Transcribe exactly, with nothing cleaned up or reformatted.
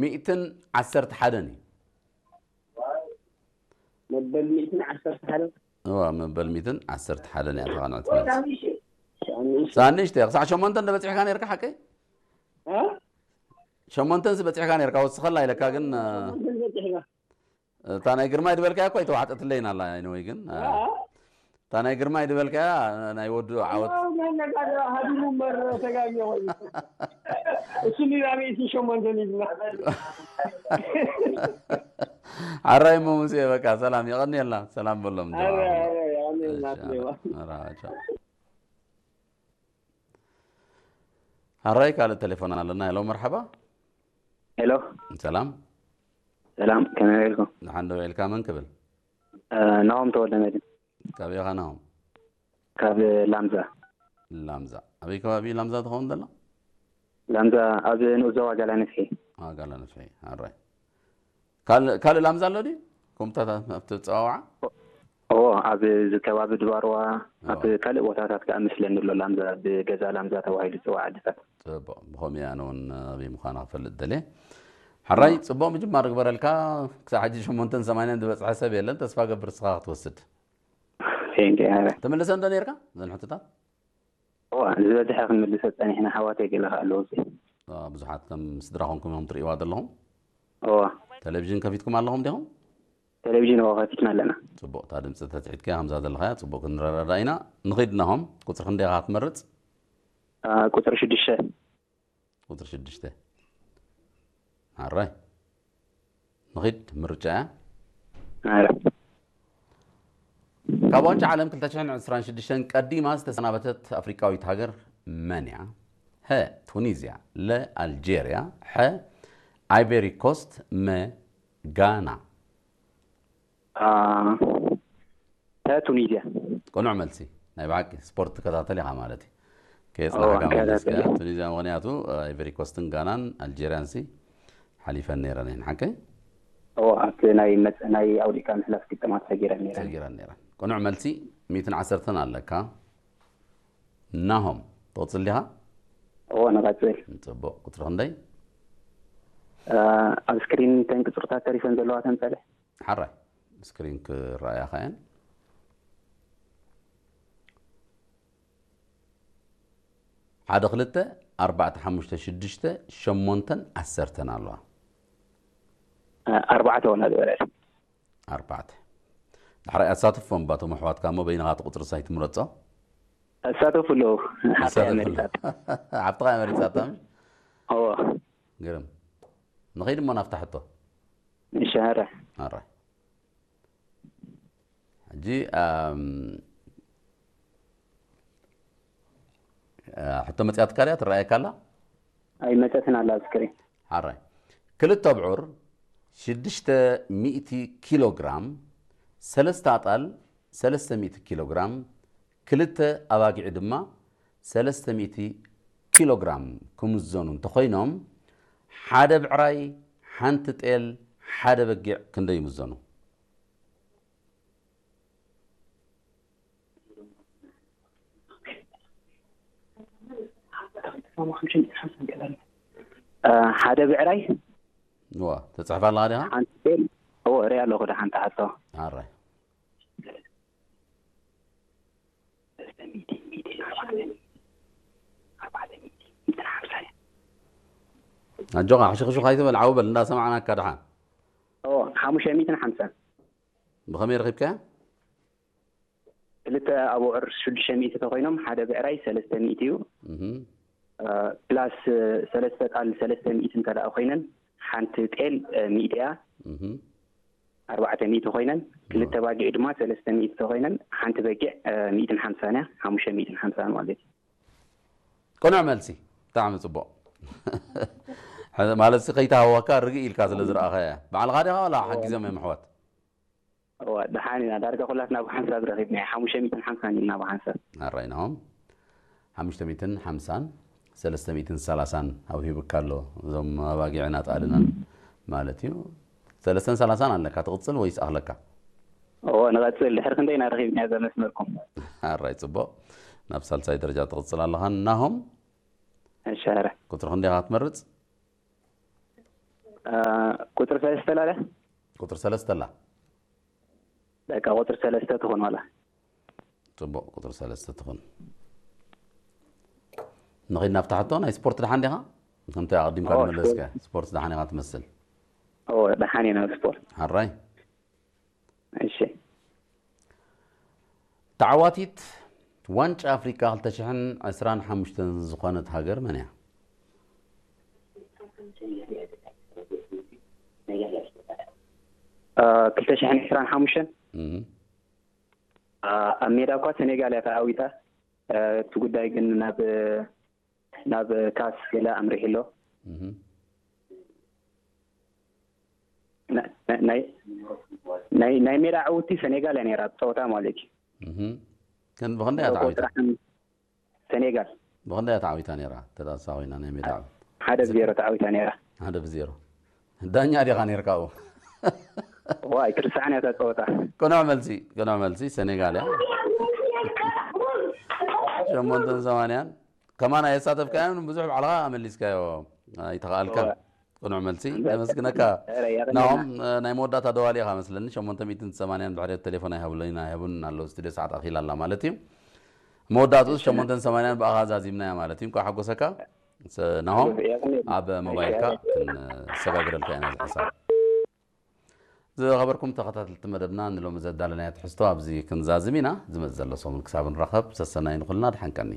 ሚእትን ዐሰርተ ሐደን እዩ። መበል ሚእትን ዐሰርተ ሐደን? እዋ፣ መበል ሚእትን ዐሰርተ ሐደን እያ ተቃንዐት መልስ። ሳንሽ። ሳንሽ ተ፣ ክሳዕ ሸሞንተ እንደ በጺሕካ ነርካ ሓቀይ? አ? ሸሞንተንስ በጺሕካ ነርካ፣ ወስኸላ ኢለካ ግን፣ አ፣ ሸሞንተን በጺሕካ። እታ ናይ ግርማይ ድበልካያ እኮ ኣይተዋሕጠትለይን ኣላ፣ anyway ግን፣ አ፣ አ? እታ ናይ ግርማይ ድበልካያ ናይ ወዱ ዓወት። ያው መነጋገር ሀዲሙ መረ ተጋኘ ወይ? እሱ ሊራ ቤት ሸሞንተን ይዝና። ሐራይ እሞ ሙሴ፣ በቃ ሰላም፣ የቀንየልና፣ ሰላም በሎም ጀማዓ። ሐራይ፣ ሐራይ፣ የቀንየልና፣ እሺ፣ ሐራይ። ሐራይ፣ ቻው። ሐራይ ካልእ ቴሌፎን ኣለና። ሄሎ፣ መርሐባ። ሄሎ። ሰላም። ሰላም፣ ከመይ ውዒልኩም? ደሓን ዶ ውዒልካ? መን ክብል? እ፣ ናሆም ተወልደ መድህን። ካብ ኢኻ ናሆም? ካብ ላምዛ። ላምዛ። ኣበይ ከባቢ ላምዛ ትኸውን ዘላ? ላምዛ ኣብ ንኡስ ዞባ ጋላ ነፍሒ። አ፣ ጋላ ነፍሒ። ኣራይ። ካል-፣ ካልእ ላምዛ ኣሎ ድዩ? ኮምታታት ኣብቲ ጸዋውዓ? እዎ፣ ኣብ እዚ ከባቢ ድባርዋ፣ ኣብ እዎ። ካልእ ቦታታት ከኣ መስለኒ ኣሎ ላምዛ፣ ብገዛ ላምዛ ተባሂሉ ዝጽዋዕ ዓድታት። ጽቡቕ፣ ብኸምኡ ኣነ እውን ኣበይ ምዃና ክፈልጥ ደልየ። ሕራይ፣ እዎ። ጽቡቕ ምጅማር እግበረልካ። ክሳብ ሕጂ ሸሞንተን ሰማንያን ዝበጽሐ ሰብ የለን። ተስፋ ገብር እስኻ ክትወስድ። ቴንኪ፣ ሕራይ። ትምልሰ እንዶ ነርካ እዘን ሕቶታት? እዋ፣ ዝበዝሐ ክንምልሰ ጸኒሕና፣ ኣሕዋተይ ገለ ከኣ ኣለዉ። አ፣ ብዙሓት ከም ስድራ ኮንኩም ኢኹም ትርእይዋ ዘለኹም? እዋ። ቴሌቪዥን ከፊትኩም ኣለኹም ዲኹም? ቴሌቪዥን፣ እዋ፣ ከፊትና ኣለና። ጽቡቕ፣ እታ ድምጺ ተትሒትካያ ከምዛ ዘለኻያ ጽቡቕ ክንረዳዳ ኢና። ንኺድ ናሆም፣ ቁጽሪ ክንደይ ኢኻ ትመርጽ? አ፣ ቁጽሪ ሽዱሽተ። ቁጽሪ ሽዱሽተ። ኣራይ። ንኺድ ምርጫ እያ። ኣረ። ካብ ዋንጫ ዓለም ክልተ ሽሕን ዕስራን ሽዱሽተን ቀዲማ ዝተሰናበተት ኣፍሪቃዊት ሃገር መን እያ? ሀ፣ ቱኒዝያ፣ ለ፣ ኣልጄርያ፣ ሐ፣ ኣይቨሪ ኮስት፣ መ፣ ጋና። አ፣ ተ ቱኒዝያ። ቅኑዕ መልሲ። ናይ ብሓቂ ስፖርት ትከታተል ኢኻ ማለት እዩ። ከየጽናሕካ እወ፣ መሊስካ። እከታተል። ቱኒዝያ ምኽንያቱ፣ ኣይቨሪ ኮስትን ጋናን ኣልጄርያን ሲ ሓሊፈን ነይረን እየን። ሓቀይ? እወ፣ ኣብቲ ናይ መጽ-፣ ናይ ኣውዲእካ ምሕላፍ ግጥማት ሰጊረን ነይረን። ሰጊረን ነይረን። ቅኑዕ መልሲ ሚእትን ዓሰርተን ኣለካ። ናሆም፣ ትቕጽል ዲኻ? እወ፣ ንቐጽል። ጽቡቕ። ቁጽሪ ክንደይ? እ፣ ኣብ ስክሪን እተን ቅጽርታት ተሪፈን ዘለዋ ተምጸልሕ። ሓራይ፣ ስክሪን ክረኣያኻ እየን። ሓደ፣ ክልተ፣ ኣርባዕተ፣ ሓሙሽተ፣ ሽዱሽተ፣ ሸሞንተን ዓሰርተን ኣለዋ። እ፣ ኣርባዕተ ወላ ዝበለል። ኣርባዕተ። ዳሕራይ ኣሳትፎም ባቶም ኣሕዋትካ እሞ በይንኻ እቲ ቁጽሪ ሳይ ትምረጾ? ኣሳተፉ ኣለዉ። ሓብትኻ ኣሳተፉ ኣለዉ። መሪጻት። ሓብትኻ እያ መሪጻታ፣ ምሽ? እዎ። ግርም። ንኸይድ እሞ ናብታ ሕቶ። እሺ፣ ሀረ። ሀረ። ሕጂ፣ ኣም፣ አ፣ ሕቶ መጽያትካ ድያ? ትረኣየካ ኣላ? ኣይመጸትን ኣላ ኣብ ስክሪን። ሓራይ። ክልተ ኣብዑር ሽዱሽተ ሚእቲ ኪሎ ግራም፣ ሰለስተ ኣጣል ሰለስተ ሚእቲ ኪሎ ግራም፣ ክልተ ኣባጊዕ ድማ ሰለስተ ሚእቲ ኪሎ ግራም ክምዘኑ እንተኾይኖም፣ ሓደ ብዕራይ፣ ሓንቲ ጤል፣ ሓደ በጊዕ ክንደይ ይምዘኑ? እ፣ ሓደ ብዕራይ። እዋ፣ ተጽሕፍ ኣለኻ ዲኻ? ሓንቲ ጤል። እዎ፣ እርኢ ኣለኹ፣ ደሓን ተሓቶ። ኣራይ። ኣጆኻ፣ ሕሹኽሹኽ ኣይትበል፣ ዓው በል፣ እንዳሰማዕናካ ደሓን። እዎ፣ ሓሙሽተ ሚእትን ሓምሳን። ብኸመይ ረኺብካያ? ክልተ ኣብዑር ሽዱሽተ ሚእቲ ተኾይኖም፣ ሓደ ብዕራይ ሰለስተ ሚእቲ እዩ። እህ። እ፣ ፕላስ፣ እ፣ ሰለስተ ጣል ሰለስተ ሚእቲ እንተ ደኣ ኮይነን፣ ሓንቲ ጤል፣ እ፣ ሚእቲ እያ። እህ። ኣርባዕተ ሚእቲ ኮይነን፣ ክልተ እህ። ባጊዕ ድማ ሰለስተ ሚእቲ ተኾይነን፣ ሓንቲ በጊዕ፣ እ፣ ሚእትን ሓምሳን እያ። ሓሙሽተ ሚእትን ሓምሳን ማለት እዩ። ቅኑዕ መልሲ። ብጣዕሚ ጽቡቕ። ማለት ሲ ከይተሃወካ ርግእ ኢልካ ስለ ዝረኣኻያ። ባዕልኻ ዲኻ ዋላ እዎ። ሓጊዞም እዮም ኣሕዋት? እወ፣ ደሓን ኢና። ዳርጋ ኩላትና ብሓንሳብ ረኺብናዮ። ሓሙሽተ ሚእትን ሓምሳን ኢልና ብሓንሳብ። ኣራይናሆም። ሓሙሽተ ሚእትን ሓምሳን፣ ሰለስተ ሚእትን ሰላሳን ኣውሂቡካ ኣሎ። እዞም ኣባጊዕን ኣጣልናን ማለት እዩ። ሰለስተን ሰላሳን ኣለካ፣ ትቕጽል ወይስ ኣኽለካ? እወ፣ ንቐጽል። ድሕሪ ክንደይ ኢና ረኺብናዮ እዛ መስመርኩም? ኣራይ፣ ጽቡቕ። ናብ ሳልሳይ ደረጃ ትቕጽል ኣለኻ። ናሆም? እሺ፣ ኣረ። ቁጽሪ ክንደይ ኢኻ ትመርጽ? አ፣ ቁጥር ሰለስተ ላለ? ቁጥር ሰለስተ ላ። በቃ ቁጥር ሰለስተ ትኹን ዋላ። ጽቡቅ፣ ቁጥር ሰለስተ ትኹን። ንኺድ ናብ ተሓቶ፣ ናይ ስፖርት ደሓን ዲኻ? ከምቲ ኣቐዲምካ ኦ፣ ድመለስካ፣ ስፖርት። ስፖርት ደሓን ኢኻ ትመስል። ኦ፣ ደሓን እየ ናብ ስፖርት። ሓራይ። እሺ። ተዓዋቲት ዋንጫ ኣፍሪቃ ክልተ ሽሕን ዕስራን ሓሙሽተን ዝኾነት ሃገር መን እያ? አ፣ ክልተ ሽሕን ዕስራን ሓሙሽተን? እህ። አ፣ ኣብ ሜዳ እኳ ሰኔጋል እያ ተዓዊታ። አ፣ እቲ ጉዳይ ግን ናብ፣ ናብ ካስ ገለ ኣምሪሑ ኣሎ። እህ። ና-፣ ና-፣ ናይ፣ ናይ፣ ናይ ሜዳ ዕውቲ ሰኔጋል እያ ነይራ፣ ጸወታ ማለት እዩ። እህ። ግን ብኽንደይ እያ ተዓዊታ? ጥራሕን ሰኔጋል። ብኽንደይ እያ ተዓዊታ ነይራ? ተጣሳ ኮይና ናይ ሜዳ ዕውት። ሓደ ብዜሮ ተዓዊታ ነይራ። ሓደ ብዜሮ። ዳኛ ዲኻ ነይርካ ኣብኡ? ዋይ፣ ትርስዓን እያ እታ ጸወታ። ቅኑዕ መልሲ፣ ቅኑዕ መልሲ፣ ሰኔጋል እያ። ሸሞንተን ሰማንያን። ከማን ኣየሳተፍካዮን ብዙሕ ባዕልኻ ኣመሊስካዮ ኣይተኸኣልካን። እወ። ቅኑዕ መልሲ። እምበል። ነመስግነካ። ኧረ፣ የቐንየልና። ናሆም፣ እ፣ ናይ መወዳእታ ደዋሊ ኢኻ መስለኒ። ሸሞንተ ሚእትን ሰማንያን ብሕሬት ቴሌፎን ኣይሃቡለይን፣ ኣይሃቡን ኣለዉ። ስቱድዮ ሰዓት ኣኺላ ኣላ ማለት እዩ። መወዳእትኡስ እሺ። ሸሞንተን ሰማንያን ብኣኻ ዛዚምናያ ማለት እዩ። እንኳዕ ሓጎሰካ። ሰ-፣ ናሆም፣ የቐንየልና። ኣብ ሞባይልካ እሺ። ክንሰጋግረልካ ኢና እዚ ሓሳብ። ዝኸበርኩም ተኸታተልቲ መደብና፣ ንሎሚ ዘዳለናዮ ትሕዝቶ ኣብዚ ክንዛዝም ኢና። ዝመጽእ ዘሎ ሰሙን ክሳብ ንራኸብ፣ ሰሰናዩ ንኹልና፣ ደሓን ቀኒ።